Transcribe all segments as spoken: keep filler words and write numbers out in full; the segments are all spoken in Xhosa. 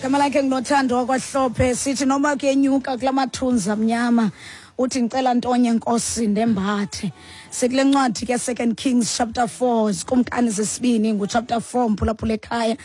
Gama lakhe nguNothando wakwaHlophe. Sithi noma kuyenyuka kula mathunzi amnyama, uthi ngicela ntonye Nkosi ndembathe. Sikule ncwadi ke Second Kings chapter four, Zikumkani zesibini ngu chapter four, mphulaphula ekhaya.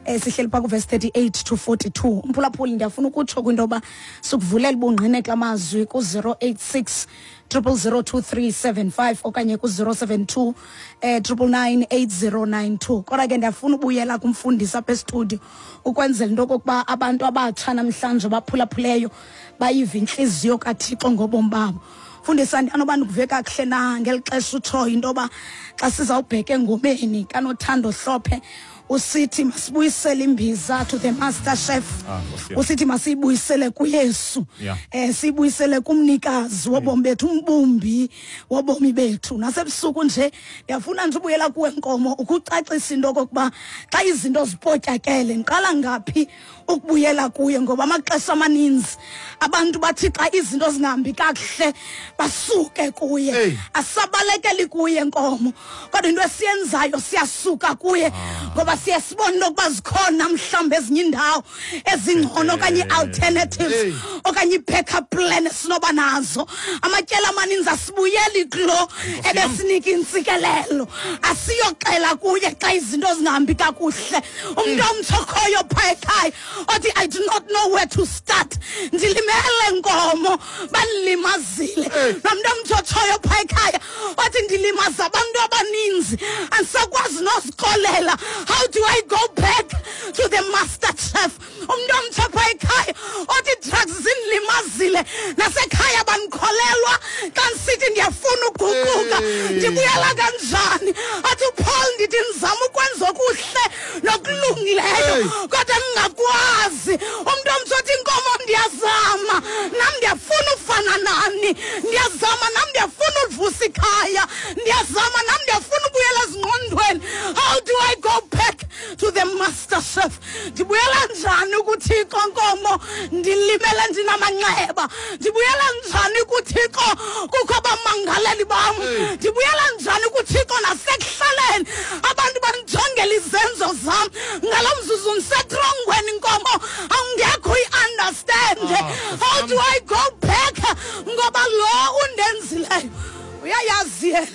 Eh sihleli pha ku verse thirty-eight to forty-two. Mphulaphuli, ndiyafuna ukutsho kwinto yoba sikuvulela ubungqine kula mazwi ku zero eight six triple zero two three seven five okanye ku zero seven two, eh, triple nine eight zero nine two. Kodwa ke ndiyafuna ubuyela kumfundisi apha estudio ukwenzela into okokuba abantu abatsha namhlanje baphulaphuleyo bayive intliziyo kaThixo ngobomi babo. Mfundisi, andinoba ndikuve kakuhle na ngeli xesha utshoyo into yoba xa sizawubheka engomeni kaNothando Hlophe, usithi masibuyisele imbiza to the master chef. Ah, Nkosi yam. Usithi masiyibuyisele kuYesu. Yeah. Eh, siyibuyisele kumnikazi wobomi bethu, umbumbi wobomi bethu. Nasebusuku nje ndiyafuna nje ubuyela kuwe Nkomo ukucacisa into okokuba xa izinto zipotyakele ndiqala ngaphi ukubuyela kuye, ngoba amaxesha amaninzi abantu bathi xa izinto zingahambi kakuhle basuke kuye. Hey. Asabalekeli kuye Nkomo, kodwa into esiyenzayo siyasuka kuye ngoba siye sibone ukuba zikhona mhlawumbi ezinye iindawo ezingcono okanye ii-alternatives Hey. okanye ii-backup plan esinoba nazo. Amatyeli amaninzi asibuyeli kulo ebesinika intsikelelo, asiyoxela kuye xa izinto zingahambi kakuhle. Umntu omtsha okhoyo phaa ekhaya othi I do not know where to start, ndilimele Nkomo, bandilimazile. Hey. Nomntu omtsha otshoyo phaa ekhaya othi ndilimaza abantu abaninzi, andisakwazi nozixolela. How do I go back to the master chef? Umntu omtsha phaa ekhaya othi drugs zindilimazile, nasekhaya bandikholelwa xa ndisithi ndiyafuna uguquka, Hey. ndibuyela kanjani? Athi uPaul ndithi ndizama ukwenza okuhle nokulungileyo Hey. kodwa ndingakwazi. Umntu omtsha othi Nkomo ndiyazama nam, ndiyafuna ufana nani, ndiyazama nam, ndiyafuna ulivusa ikhaya, ndiyazama nam, ndiyafuna ubuyela ezingqondweni. How do I go back to the master chef? Ndibuyela njani kuThixo Nkomo ndilimele ndinamanxeba? Ndibuyela njani kuThixo kukho abamangaleli bam? Hey. Ndibuyela njani kuThixo nasekuhlaleni abantu bandijongela izenzo zam? Ngalo mzuzu ndisetrongweni Nkomo, awungekho uyi-understand. Ah, How do I go back? Ngoba lo undenzileyo uyayazi yena.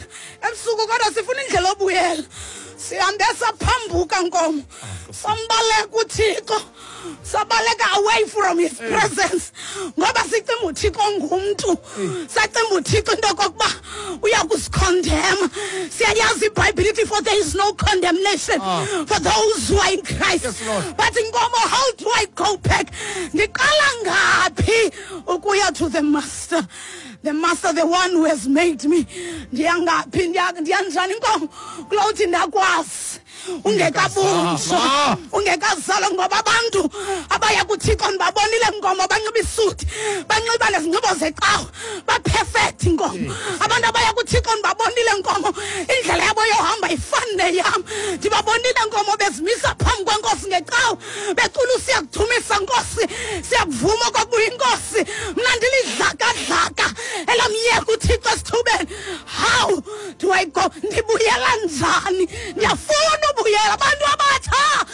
Ebusuku kodwa sifuna indlela obuyela. Sihambe saphambuka Nkomo, sambaleka uThixo, sabaleka away from his presence ngoba sicinga uThixo ngumntu, sacinga uThixo into okokuba uya kusikhondema. Siyayazi iBhayibhile ithi for there is no condemnation Ah. for those who are in Christ. Yes, Lord. But Nkomo, how do I go back? Ndiqala ngaphi ukuya to the master? The master, the one who has made me. Ndiya ngaphi? Ndiya, ndiya njani Nkomo? Kulawuthi ndakwazi ungekabunjwa, ungekazalwa, ngoba abantu abaya kuThixo ndibabonile Nkomo banxiba isuti, banxiba nezinxibo zecawa, ba-perfect Nkomo. Abantu abaya kuThixo ndibabonile Nkomo, indlela yabo yohamba ifani neyam. Ndibabonile Nkomo bezimisa phambi kweNkosi ngecawa, becula usiyakudumisa Nkosi, siyakuvuma okokuba uyinkosi. Mna ndilidlakadlaka elamyeka uThixo esithubeni. How do I go? Ndibuyela njani? Ndiyafuna ubuyela. Abantu abatsha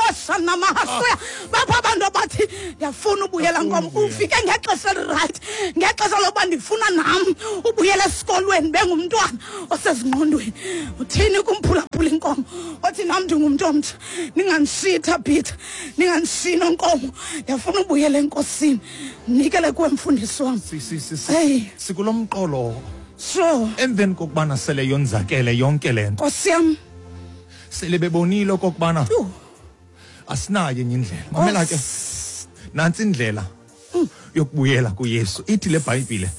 oshanamahashuya bapha abantu abathi ndiyafuna ubuyela Nkomo. Ufike ngexesha elirayithi, ngexesha lokuba ndifuna nam ubuyela esikolweni bengumntwana osezingqondweni. Uthini kumphulaphula inkomo othi nam ndingumntu omtsha, ningandishiyi Thabitha, ningandishiyi Nonkomo, ndiyafuna ubuyela enkosini. Nikele kuwe mfundisi wam. Si, si, si, si. Hey. Sikulo mqolo. Sure. Emveni kokubana sele yonzakele yonke le nto. Nkosi yam. Sele bebonile okokubana Yhu. asinayo enye indlela. Mamela ke. Nantsi indlela yokubuyela kuYesu. Ithi le Bhayibhile,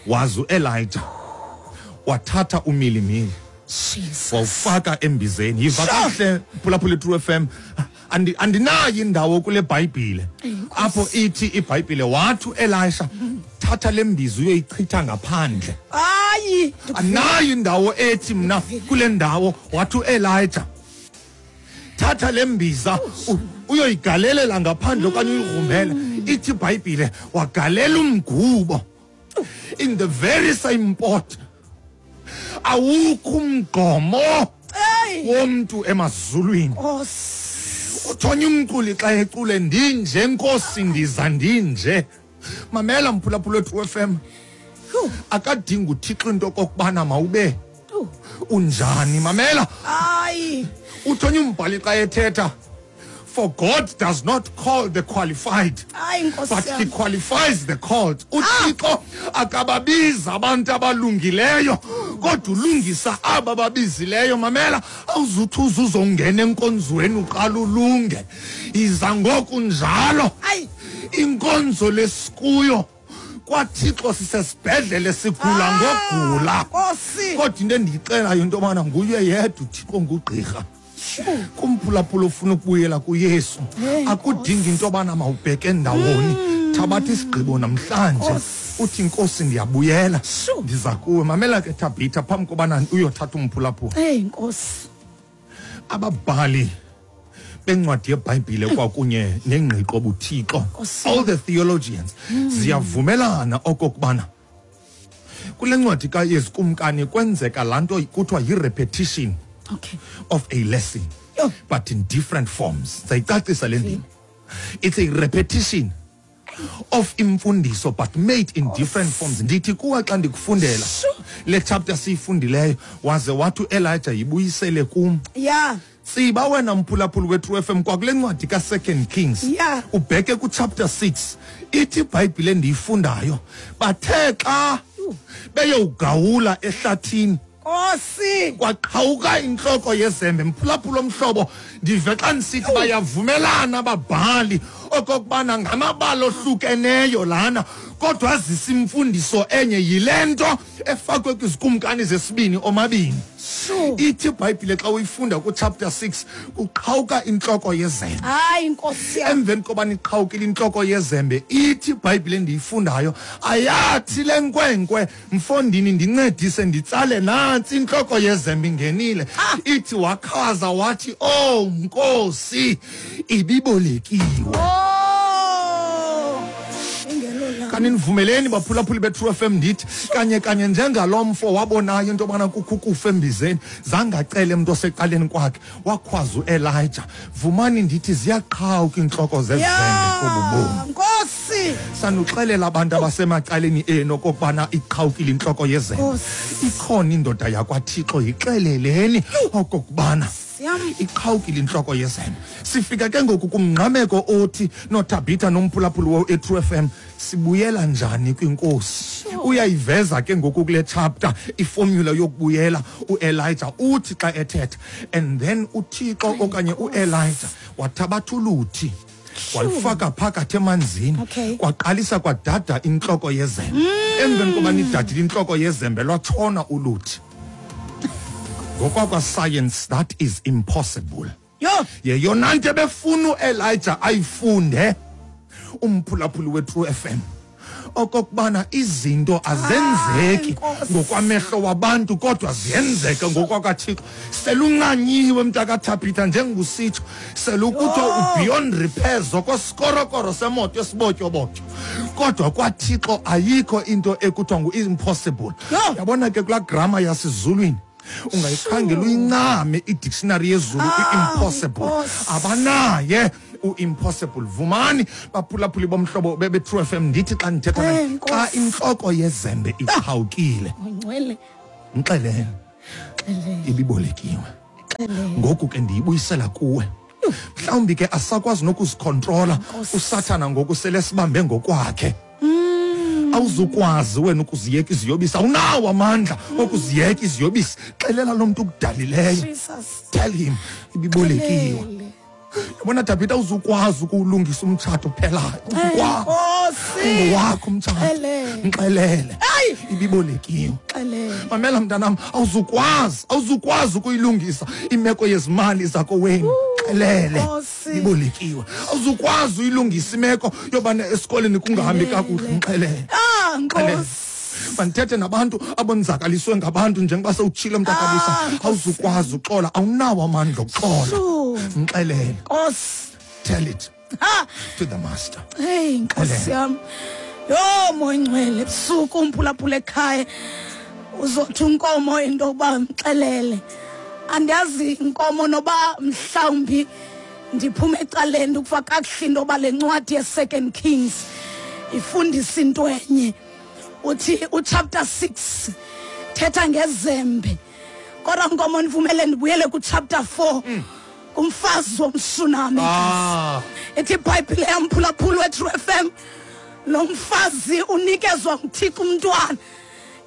wazi uElijah wathatha umilimili Jesus. wawufaka embizeni. Yiva kahle phulaphula True F M. Andi, andinayo indawo kule Bhayibhile apho ithi iBhayibhile wathi uElisha thatha le mbiza uyoyichitha ngaphandle. Hayi, Anayo indawo ethi mna kule ndawo wathi uElijah thatha le mbiza uyoyigalelela ngaphandle okanye uyigrumbele. Ithi iBhayibhile wagalela umgubo in the very same pot. Awukho umgomo womntu emazulwini. Uthonya umculi xa ecule ndinje Nkosi ndiza ndinje. Mamela mphulaphula True F M. Akadingi uThixo into okokubana mawube unjani. Mamela. Hayi. Uthonya umbhali xa ethetha, for God does not call the qualified, but he qualifies the called. UThixo akababiza abantu abalungileyo, kodwa ulungisa aba babizileyo. Mamela, awuzuthi uzongena enkonzweni uqala ulunge. Iza ngoku njalo. Inkonzo lesikuyo kwaThixo sisesibhedlele sigula ngogula. Kodwa into endiyixelayo into yobana nguye yedwa uThixo ngugqirha. Kumphulaphula ufuna ukubuyela kuYesu, akudingi into yobana mawubheke ndawoni. Thabatha isigqibo namhlanje uthi Nkosi ndiyabuyela, ndiza kuwe. Mamela ke Thabitha, phambi kobana uyothatha umphulaphula. Hey Nkosi. Ababhali bencwadi yeBhayibhile kwakunye nengqiqo buThixo, all the theologians, ziyavumelana okokubana kule ncwadi kaYesu Kumkani kwenzeka laa nto kuthiwa yi-repetition okay. of a lesson, oh. but in different forms. Sayicacisa le ndima. It's a repetition of imfundiso but made in different forms. Ndithi kuwa xa ndikufundela le chapter siyifundileyo, waze wathi uElijah yibuyisele kum. Yeah. Siba wena mphulaphula we-True F M kwakule ncwadi ka-Second Kings, yeah. ubheke ku-chapter six, ithi iBhayibhile endiyifundayo, bathe xa beyowugawula ehlathini, Nkosi, kwaqhawuka intloko yezembe. Mphulaphula omhlobo, ndive xa ndisithi bayavumelana ababhali okokubana ngamabali ohlukeneyo lana, kodwa azisa imfundiso enye. Yile nto efakwe kwizikumkani zesibini omabini. Ithi iBhayibhile xa uyifunda ku-chapter six, kuqhawuka intloko yezembe. Hayi Nkosi yam. Emveni kobana iqhawukile intloko yezembe, ithi iBhayibhile endiyifundayo, ayathi le nkwenkwe, mfondini ndincedise nditsale nantsi intloko yezembe ingenile. Ithi wakhaza wathi, oh Nkosi, ibibolekiwe. Kanti nivumeleni baphulaphuli be-True F M ndithi kanye kanye njengalo mfo wabonayo into yobana kukho ukufa embizeni, zangacele mntu osecaleni kwakhe, wakhwaza uElijah. Vumani ndithi ziyaqhawuka iintloko zezembe kobu bomi. Nkosi, sanuxelela abantu abasemacaleni enu okokubana iqhawukile intloko yezembe. Ikhona indoda yakwaThixo, yixeleleni okokubana iqhawukile intloko yezembe. Sifika ke ngoku kumngqameko othi noThabitha nomphulaphuli we-True F M, sibuyela njani kwinkosi? Uyayiveza ke ngoku kule chapter iformula yokubuyela. uElijah uthi xa ethetha, and then uThixo okanye uElijah wathabatha uluthi walifaka phakathi emanzini, kwaqalisa kwadada intloko yezembe. Emveni koba idadile intloko yezembe, lwatshona uluthi. Ngokwakwa science, that is impossible. Yeyona nto ebefuna uElijah ayifunde umphulaphuli we-True F M, okokubana izinto azenzeki ngokwamehlo wabantu, kodwa ziyenzeka ngokwakaThixo. Seluncanyiwe mntakaThabitha, njengusitsho, selukuthiwa ubeyond repairs okwesikorokoro semoto esibotyobotyo, kodwa kwaThixo ayikho into ekuthiwa ngu-impossible. Yabona ke kulaa grama yasezulwini, ungayikhangela uyincame idictionary yezulu, i-impossible. Abanaye u-impossible. Vumani baphulaphuli bomhlobo be-True F M, ndithi xa ndithetha naye, xa intloko yezembe iqhawukile, mxelele ibibolekiwe. Ngoku ke ndiyibuyisela kuwe. Mhlawumbi ke asakwazi nokuzikhontrola uSathana ngoku sele sibambe ngokwakhe. Awuzukwazi wena ukuziyeka iziyobisi, awunawo amandla okuziyeka iziyobisi. Xelela lo mntu ukudalileyo, tell him ibibolekiwe. Yabona Thabitha, awuzukwazi ukuwulungisa umtshato uphelayo, uzukwazi ungowakho umtshato. Mxelele ibibolekiwe. Mamela mntanam, awuzukwazi awuzukwazi ukuyilungisa imeko yezimali zakowenu. Xelele ibolekiwe. Awuzukwazi uyilungisa imeko yobana esikoleni kungahambi kakuhle. Mxelele. Mandithethe nabantu abonzakaliswe ngabantu njengoba sewutshile mntakabisa, awuzukwazi uxola, awunawo amandla okuxola. Mxelele. Tell it to the master. Hey Nkosi yam. Yho moyingcwele, ebusuku umphulaphula ekhaya uzothi unkomo into yokuba mxelele. Andiyazi inkomo noba mhlawumbi Ndiphuma ecaleni ukufa kakuhle into yoba le ncwadi ye-Second Kings ifundisa into enye. Uthi uchapter six thetha ngezembe. Kodwa Nkomo ndivumele ndibuyele kuchapter four. Kumfazi womShunami. Ah. Ithi iBhayibhile yamphulaphula weTrue F M, lo mfazi unikezwa nguThixo umntwana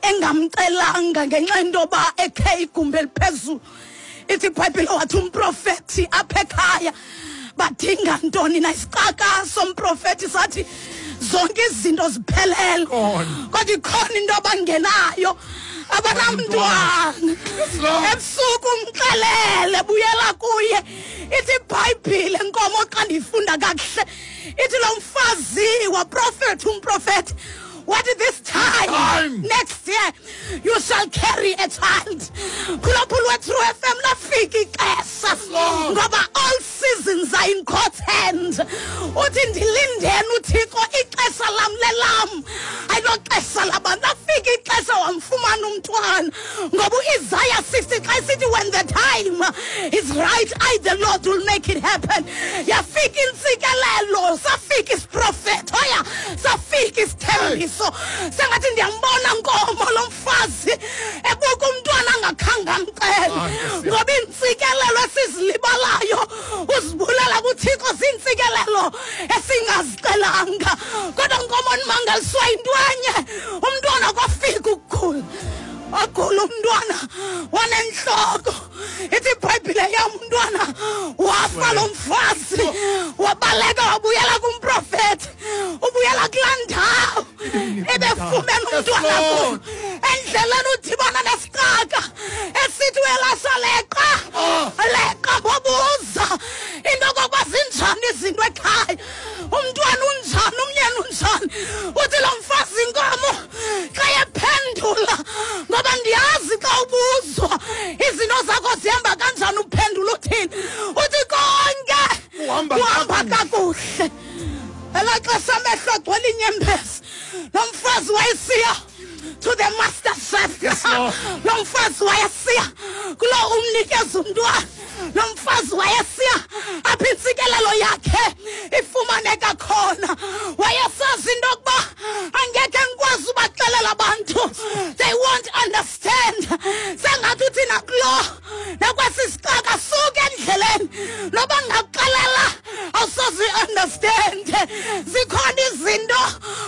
engamcelanga ngenxa yento yoba ekhe igumbi eliphezulu. Ithi iBhayibhile wathi umprofethi apha ekhaya badinga ntoni na? Isicaka somprofethi sathi zonke izinto ziphelele, kodwa ikhona into abangenayo, abanamntwana. Ebusuku umxelele buyela kuye. Ithi iBhayibhile Nkomo xa ndiyifunda kakuhle, ithi lo mfazi waprofethi umprofethi wathi this time, time next year you shall carry a child. Phulaphula weTrue F M, lafika ixesha ngoba all seasons are in God's hand. Uthi ndilindeni uThixo, ixesha lam lelam, ayiloxesha labantu. Lafika ixesha wamfumana umntwana ngoba uIsaiah sixty xa esithi when the time is right, I the Lord will make it happen. Yafika intsikelelo, safika isiprofeto, oya safika isithembiso. Sengathi ndiyambona Nkomo lo mfazi ebuka umntwana angakhange amcele, ngoba iintsikelelo esizilibalayo uzibulela kuThixo ziintsikelelo esingazicelanga. Kodwa Nkomo ndimangaliswa yinto enye, umntwana kwafika ukugula, wagula umntwana wanentloko. Ithi iBhayibhile yam umntwana wafa lo mfazi, wabaleka wabuyela kumprofethi, ubuyela kulaa ndawo ebefumene umntwana kuyo. Endleleni udibana nesicaka esithi uElisha leqa, leqa, wabuza into okokuba zinjani izinto ekhaya, umntwana unjani, umyeni unjani. Uthi lo mfazi Nkomo xa ephendula, ngoba ndiyazi xa ubuzwa izinto zakho zihamba kanjani, uphendula uthini? Uthi konke kuhamba kakuhle. Elaa xesha amehlo agcwele iinyembezi, lo mfazi wayesiya to the master chef. Yes, Lord. Lo mfazi wayesiya kuloo umnikeza umntwana. Lo mfazi wayesiya apha intsikelelo yakhe ifumaneka khona. Wayesazi into yokuba angekhe ndikwazi ubaxelela abantu, they won't understand. Sengathi uthi nakulo nakwesi sicaka, suka endleleni, noba ndingakuxelela awusoze understand. Zikhona izinto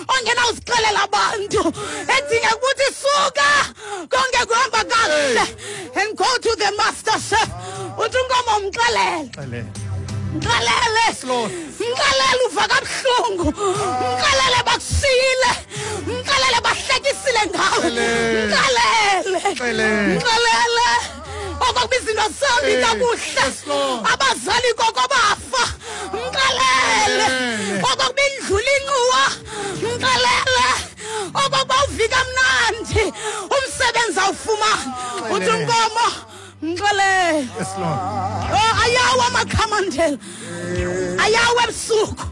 ongenawuzixelela abantu, edinga ukuthi suka konke kuhamba kakuhle and go to the master chef. Uthi uNkomo mxelele, mxelele, mxelele uva kabuhlungu, mxelele bakushiyile, mxelele bahlekisile ngawe, mxelele, mxelele okokuba izinto zihambi kakuhle, abazali koko bafa, mxelele okokuba indlula inxuwa, mxelele okokuba uvika mnandi umsebenzi awufumani. Uthi uNkomo mxelele. Yes, Lord. Oh, ayawa amakhamandela, ayawa ebusuku.